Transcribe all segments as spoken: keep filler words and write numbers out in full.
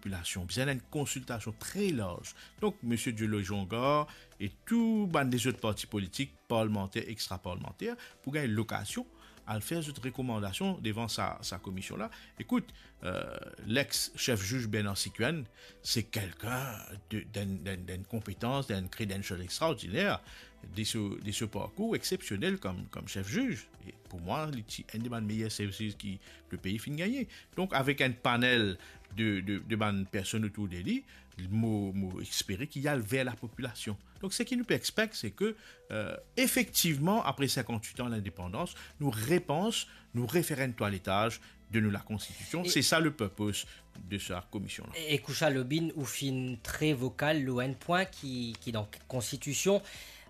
popilasion, bizin enn konsiltasion tre larz. Donk, misie Dieuloy Jongar e tou bann lezot parti politik, parlmanter, extra-parlmanter, pou gagn lokazion al fer zot rekomandasion devan sa, sa komision la. Ekout, euh, lex sef ziz Bernard Siquienne, se kelkin de, d'enn, d'enn, d'enn konpetans, d'enn credential extraordiner, de so, de so parkour exsepsionel kom, kom sef ziz. E pou mwa, li ti enn de bann meyer sef ziz ki lepei finn gagne. Donk, avek enn panel de, de, de bann personn otour de li, mo, mo espere ki li al ver lapopilasion. Donk, seki nou pe expect, se ke, euh, efektivman, apre sinkant-wit an lindepandans, nou repans, nou refer enn twaletaz de nou lakonstitision. E se sa le purpose de sa komision la. E, e Koucha Lobine, ou finn tre vokal lor enn pwin ki, ki dan konstitision,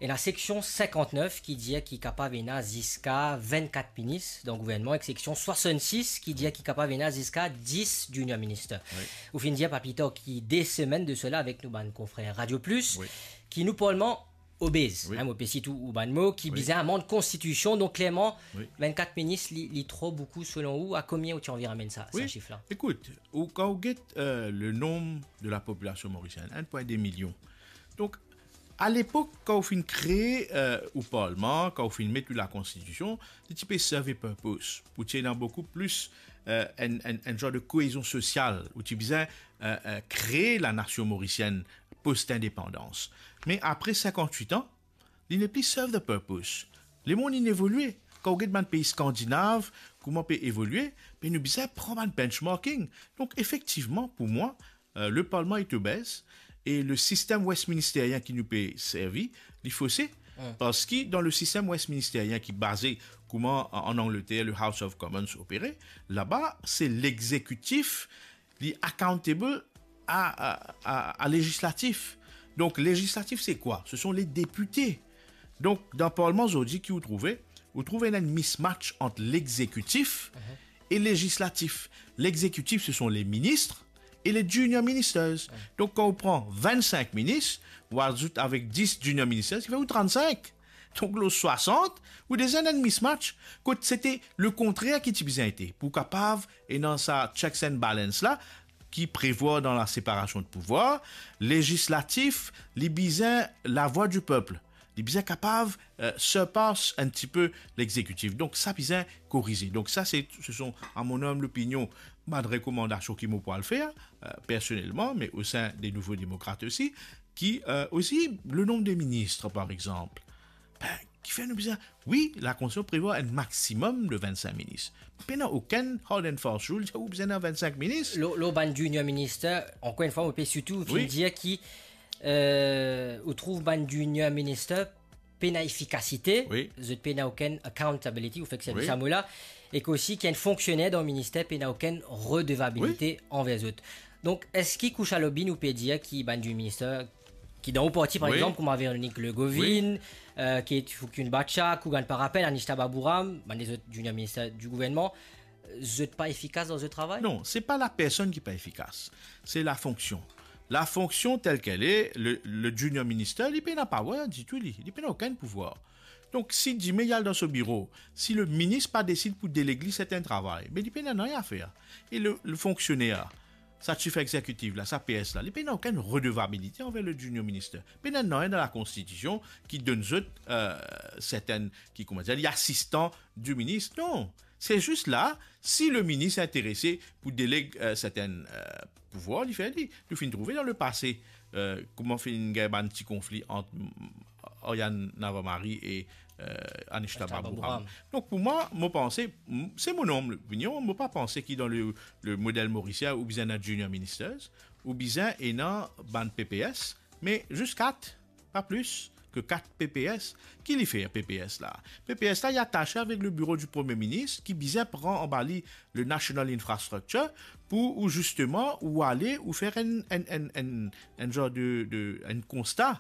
ena seksion sinkant-nef ki dir ki kapav ena ziska vinn-kat minis dan gouvernman, ek seksion swasann-sis ki dir ki kapav ena ziska dis junior minister. Wi. Ou finn dir pa pli tar ki de semenn de sela avek nou bann konfrer Radio Plus, wi, ki nou parlman obez, wi, hein, mo pe sit ou, ou bann mo, ki, wi, bizin amann konstitision. Donk, klerman, wi, vinn-kat minis, li, li tro boukou selon ou? A konbien ou ti anvi ramenn sa, wi, sa sif la? Ekout, ou, kan ou get, euh, le nonb de lapopilasion morisienn, enn pwin de milion. Donk, alepok, kan ou finn kree, euh, ou parlman, kan ou finn met ou lakonstitision, li ti pe servi purpose, pou ti ena boukou plis, euh, enn, enn, enn zar de koezion sosial, ou ti bizin, euh, euh, kree lanasion morisienn post-indepandans. Me apre sinkant-wit an, li nepli serve the purpose. Lemonn inn evolie. Kan ou get bann pei skandinav, kouma pe evolie, be nou bizin pran bann benchmarking. Donk, efektivman, pou mwa, euh, le parlman est obèse e le sistem westminsterien ki nou pe servi, li fose. Hmm. Parski dan le sistem westminsterien ki baze kouma an, an Angleter, le House of Commons opere, laba, se lexekitif li accountable a, a, a, a lezislatif. Donk, lezislatif, se kwa? Se son le depite. Donk, dan parlman zordi ki ou trouve, ou trouve ena enn mismatch ant lexekitif, mhm, e lezislatif. Lexekitif, se son le minis e le junior ministers. Mhm. Donk, kan ou pran vinn-sink minis, ou azout avek dis junior ministers, ki fer ou trant-sink. Donk, lor swasant, ou deza ena enn mismatch, kot sete le kontrer ki ti bizin ete, pou kapav ena sa checks and balance la, ki prevwar dan la separasion de pouvwar, lezislatif, li bizin lavwa di pep, li bizin kapav, euh, surpass enn tipe lexekitif. Donk, sa bizin korize. Donk, sa, se, se son, a mon humble opinion, bann rekomandasion ki mo pou al fer, euh, personelman, me o sein de Nouvo Demokrat osi, ki, euh, osi, le nonb de minis, par exanp, ben, kifer nou bizin, wi, lakonstitision prevwar enn maximum de vinn-sink minis. Pena okenn hard and fast rule, ou bizin ena vinn-sink minis. Lor, lor bann junior minister, ankor enn fwa, mo pe sirtou, wi, finn dir ki, euh, ou trouv bann junior minister pena efikasite, wi, zot pena okenn accountability, ou fek servi, wi, sa mo la, e ki osi ki enn fonksioner dan minister pena okenn redevabilite, wi, anver zot. Donk, eski Koucha Lobine ou pe dir ki bann junior minister ki dan ou parti, par, wi, exanp, kouma Véronique Le Goviñ, wi, euh, Kate Fookun Bachak, Kougan Parappin, Anishta Baburam, bann lezot junior minister di gouvernman, zot pa efikas dan zot travay? Non, se pa lapersonn ki pa efikas, se lafonksion. Lafonksion tel qu'elle est, le, le junior minister, li pena power ditou, li, li pena okenn pouvwar. Donk, si dime li al dan so biro, si le minis pa desid pou deleg li sertenn travay, be li pena nanye a fer. E le, le fonksioner, sa chef exekitif la, sa P S la, li pena okenn redevabilite anver le junior minister. Pena nanye dan lakonstitision ki donn zot, euh, sertenn, ki, kouma dir, li asistan di minis. Non, se zis la, si le minis interese pou deleg, euh, sertenn, euh, pouvwar, li fer li. Nou finn trouve dan lepase, euh, kouma finn gagn bann ti konfli ant, mm, Aryan Navarmari e, euh, Anishta Baburam. Donk, pou mwa, mo panse, m-, se mon humble opinion, mo pa panse ki dan le, le model morisien ou bizin ena junior ministers, ou bizin ena bann P P S, me zis kat, pa plis ki kat P P S. Ki li fer, P P S la? P P S la, li atase avek le biro di Premie Minis, ki bizin pran anba li le National Infrastructure, pou ou zisteman, ou ale, ou fer enn, enn, enn, enn, enn zar de, de, enn konsta,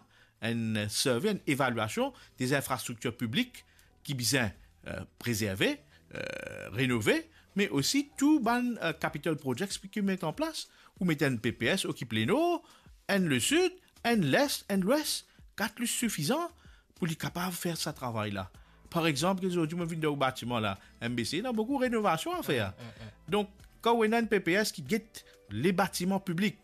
enn survey, enn evalyasion de zinfrastriktir piblik ki bizin, euh, prezerve, euh, renove, me osi tou bann, euh, capital projects ki met an plas. Ou met enn P P S okip Lenor, enn Lesid, enn Les, enn Lwes, kat li sifizan pou li kapav fer sa travay la. Par exanp, zordi mo vinn dan ou batiman la, M B C, ena boukou renovasion a fer. Mm, mm, mm. Donk, kan ou ena enn P P S ki get le batiman piblik,